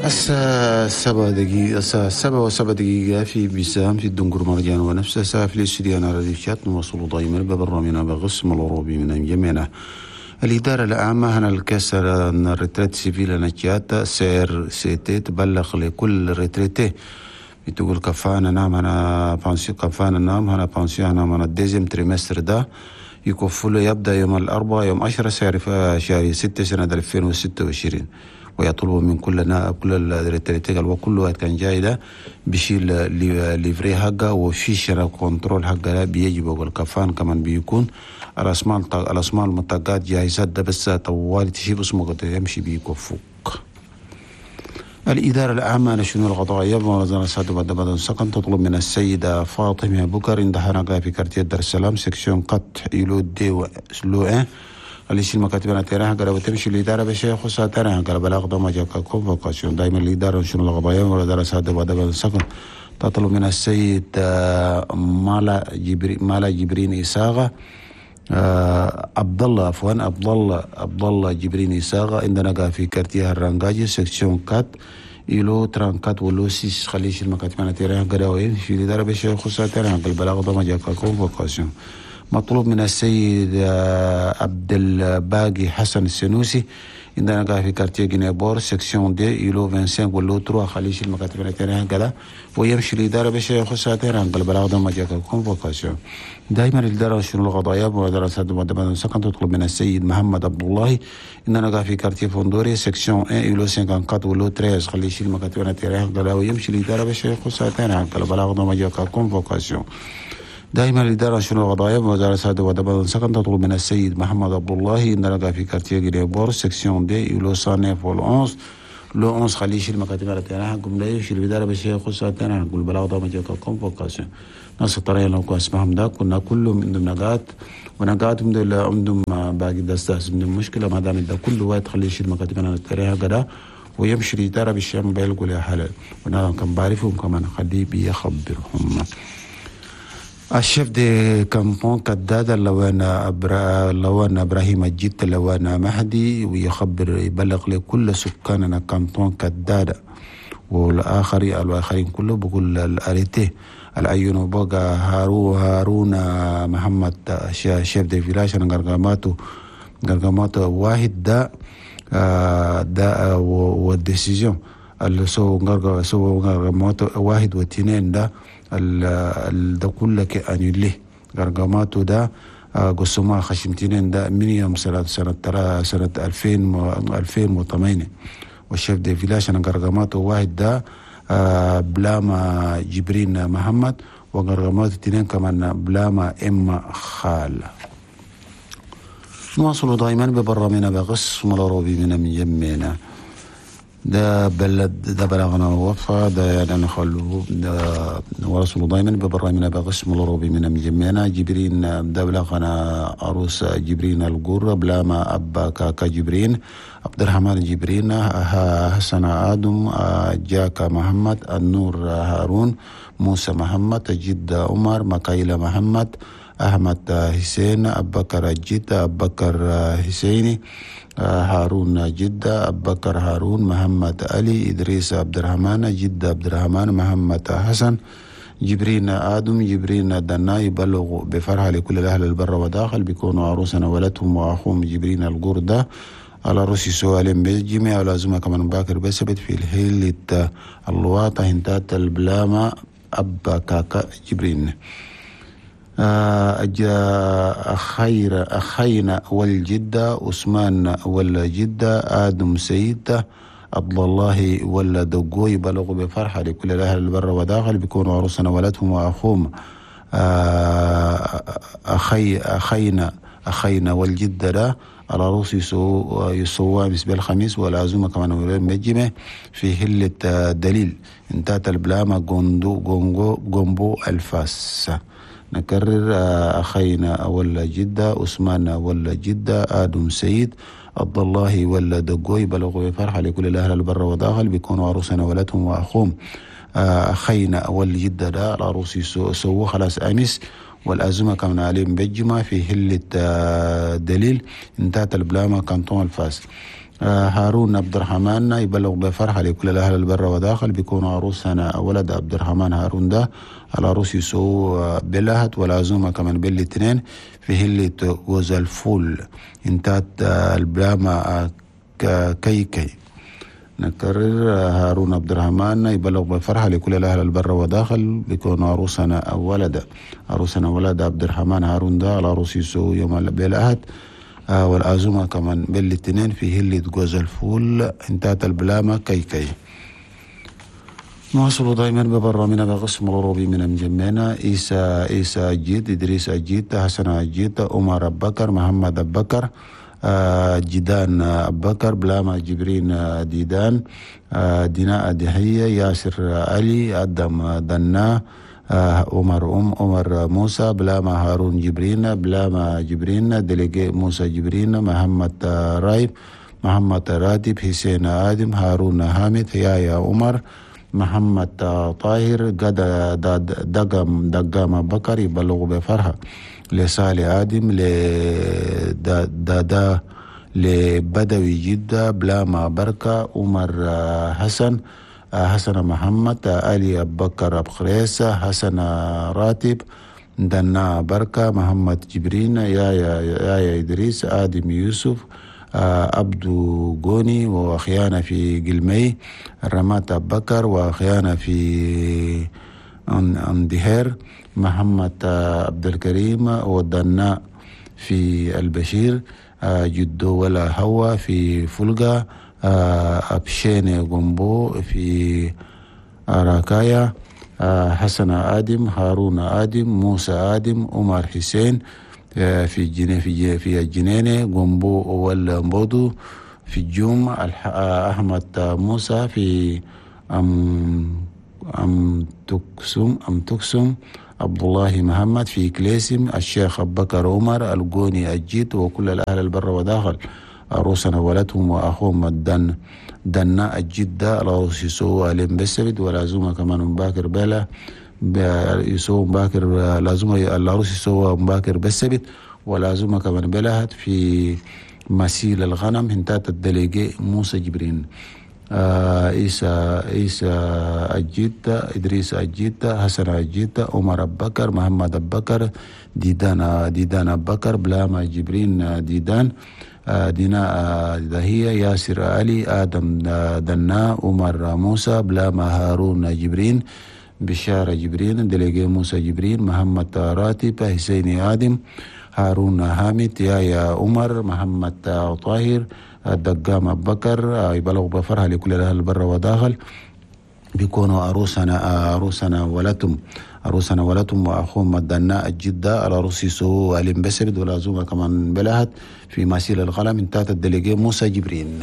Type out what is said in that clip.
الساعة 7 دقيقة، الساعة 7:07 في بيسام في الدنقر مرجان ونفسها ساعة في الاستديو على شات. نواصل دائما ببرنامجنا بقسم الأوروبي من جميعنا. الإدارة العامة هنا ال caisse retraite civile نجات CRCT تبلغ لكل retraité بتقول كفانا نعم هنا pension، كفانا نعم هنا pension نعم هنا ال deuxième trimestre ده يكفل يبدأ يوم الأربعاء يوم 10 شهر 6 سنة 2026، ويطلب من كل كل ال retraités وكل واحد كان جاي ده بيشيل livret حقه و fiche contrôle حقه بيجي الكفان كمان بيكون الأسماء المطاقات جاهزات ده بس طوال تشيب اسمه يمشي بيكفوك. الإدارة العامة للشؤون القضائية بمنظمة سعد بدر سكن تطلب من السيدة فاطمة بكر عندها نقا في quartier دار السلام section quatre îlot deux lot un اللي يشيل مكاتبنا تيران قال وتمشي الإدارة بشيء خصها تيران قال بلاغ دوما جاكا convocation. دائما الإدارة للشؤون القضائية وزارة سعد بدر سكن تطلب من السيد مالا جبرين إساغة عبد الله عفوا عبد الله جبرين إساغة عندنا في quartier الرنجاجي section quatre îlot 34 و lot 6 خليش المكاتب أنا تيران قراوين في الإدارة بشيء خصها تيران البلاغ دوما جاكا convocation. مطلوب من السيد عبد الباقي حسن السنوسي عندنا قاعد في quartier جنيبور section deux îlot 25 و lot 3 خليش المكاتب التانية كذا ويمشي الإدارة باش يخصها تيران البلاغ ده ما جاك convocation. دائما الإدارة شنو القضايا وإدارة سعد مدبر سكن تطلب من السيد محمد عبد الله عندنا قاعد في quartier فوندوري section 1 îlot 54 و lot 13 خليش المكاتب التانية كذا ويمشي الإدارة باش يخصها تيران البلاغ ده ما جاك convocation. دائما الإدارة شنو القضايا وزارة سعد ودبر سكن تطلب من السيد محمد عبد الله إن لقى في quartier جريبور section deux îlot 109 وال 11 lot 11 خليش المكاتب على حقهم لا يمشي الإدارة باش يخصها تانا نقول بلاغ ده ما convocation. ناس الطريقة لو اسمهم ده كنا كلهم عندهم نقاط ونقاطهم دول عندهم باقي دستاس عندهم مشكلة ما دام ده كل واحد خليش المكاتب على الطريقة كده ويمشي الإدارة بالشام بيلقوا لها حل وانا كان بعرفهم كمان خليه بيخبرهم. ال chef de canton كداد لوان إبراهيم الجد لوان مهدي ويخبر يبلغ لكل سكاننا canton كدادة والآخرين كله بقول ال arrêté العيون بقى هارون محمد chef de village غرغماتو واحد ده ده وال décision اللي سو غرغماتو 1 و2 ده ده كله annulé غرغماتو ده قسمها خشمتين ده من يوم سنة 2008. وال chef de village أنا غرغماتو 1 ده بلاما جبرين محمد وغرغماتو 2 كمان بلاما إما خال. نواصل دائما ببرنامجنا بقسم الأوروبي من جمينا ده بلد ده بلغنا وفا ده يعني نخلو ده نواصل دائما ببرنامجنا بقسم الأوروبي من جمينا جبرين ده بلغنا عروس جبرين القرة بلاما أبا كاكا جبرين عبد الرحمن جبرين حسن آدم جاكا محمد النور هارون موسى محمد جد عمر مكايلة محمد أحمد حسين أبكر جدة أبكر حسيني هارون جدة أبكر هارون محمد علي إدريس عبد الرحمن جدة عبد الرحمن محمد حسن جبرين آدم جبرين دنا يبلغ بفرحة لكل الأهل البر وداخل بيكونوا عروسنا ولدهم وأخوهم جبرين القردة على روسي سؤالين بالجميع ولازمة كمان باكر بسبت في الهيلة الواطة هنتات البلامة أبا كاكا جبرين. خير أخينا والجدة عثمان والجدة آدم سيد عبد الله والدقوي بلغوا بفرحة لكل الأهل البر وداخل بيكونوا عروسنا ولدهم وأخوهم أخينا والجدة ده على روس يسوى بالنسبة الخميس والعزومة كمان مجمع في هلة دليل انتات البلامة غوندو غونغو غومبو الفاس. نكرر أخينا ولا جدة، عثمان ولا جدة، آدم سيد، عبد الله ولا دقوي، بلغوا بفرحة لكل الأهل البر وداخل بيكونوا عروسنا ولدهم وأخوهم أخينا ولا جدة ده العروس سووا خلاص أمس، والأزمة كمان عليهم بجمع في هلة دليل انتهت البلامة كانتون الفاس. هارون عبد الرحمن يبلغ بفرحة لكل الأهل البر وداخل بيكونوا عروسنا ولد عبد الرحمن هارون ده العروس يسو بلهت، والعزومة كمان بالاثنين في هلة جوز الفول انتهت البلامة كي كي. نكرر هارون عبد الرحمن يبلغ بفرحة لكل الأهل البر وداخل بيكون عروسنا ولد عروسنا ولد عبد الرحمن هارون ده العروس يسو يوم بلهت، والعزومة كمان بالاثنين في هلة جوز الفول انتهت البلامة كي كي. نواصل دائما ببرنامجنا بقسم الغروبي من مجمعنا عيسى أجيد، إدريس أجيد، حسن أجيد، عمر أبو بكر، محمد أبو بكر، جدان أبو بكر، بلاما جبرين ديدان، ديناء دحية، ياسر علي، أدم دنا، عمر عمر موسى، بلاما هارون جبرين، بلاما جبرين، دليجي موسى جبرين، محمد رايب، محمد راتب، حسين آدم، هارون حامد، يايا عمر، محمد طاهر، قد دقم دقام بكر يبلغ بفرحة لصالح آدم، لدادا، لبدوي جدة، بلاما بركة، عمر حسن، حسن محمد، علي أبو بكر أبو خريسة، حسن راتب، دنا بركة، محمد جبرين، يا إدريس، آدم يوسف، عبدو غوني، وخيانة في قلمي، رمات أبو بكر، وخيانة في اندهير، محمد عبد الكريم، ودنا في البشير، جدو ولا هوا في فلقة، أبشين غومبو في أراكايا، حسن آدم، هارون آدم، موسى آدم، عمر حسين في الجنة في في الجنينة، غومبو والمبودو في الجوم، أحمد موسى في أم تكسم، عبد الله محمد في كليسم، الشيخ أبو بكر عمر الجوني الجيت، وكل الأهل البر وداخل عروسنا ولدهم وأخوهم الدن دنا الجدة العروس يسوع عليهم بالسبت، والعزومة كمان مباكر بلا يسوع مباكر، العزومة العروس يسوع مباكر بالسبت، والعزومة كمان بلهت في مسيل الغنم هنتات الدليجي موسى جبرين، عيسى الجدة، إدريس الجدة، حسن الجدة، عمر أبو بكر، محمد أبو بكر، ديدان أبو بكر، بلاما جبرين ديدان، دينا دهية، ياسر علي، آدم دنا، عمر موسى، بلاما هارون جبرين، بشارة جبرين، دليجي موسى جبرين، محمد راتب، حسين آدم، هارون حامد، يا عمر، محمد طاهر، دقام أبو بكر، يبلغ بفرحة لكل الأهل البر وداخل بيكونوا عروسنا ولتم عروسنا ولتم وأخوهم الدناء الجدة العروس يسوع عليم بسبد، والعزومة كمان بلهت في مسيل القلم انتهت الدليجي موسى جبرين.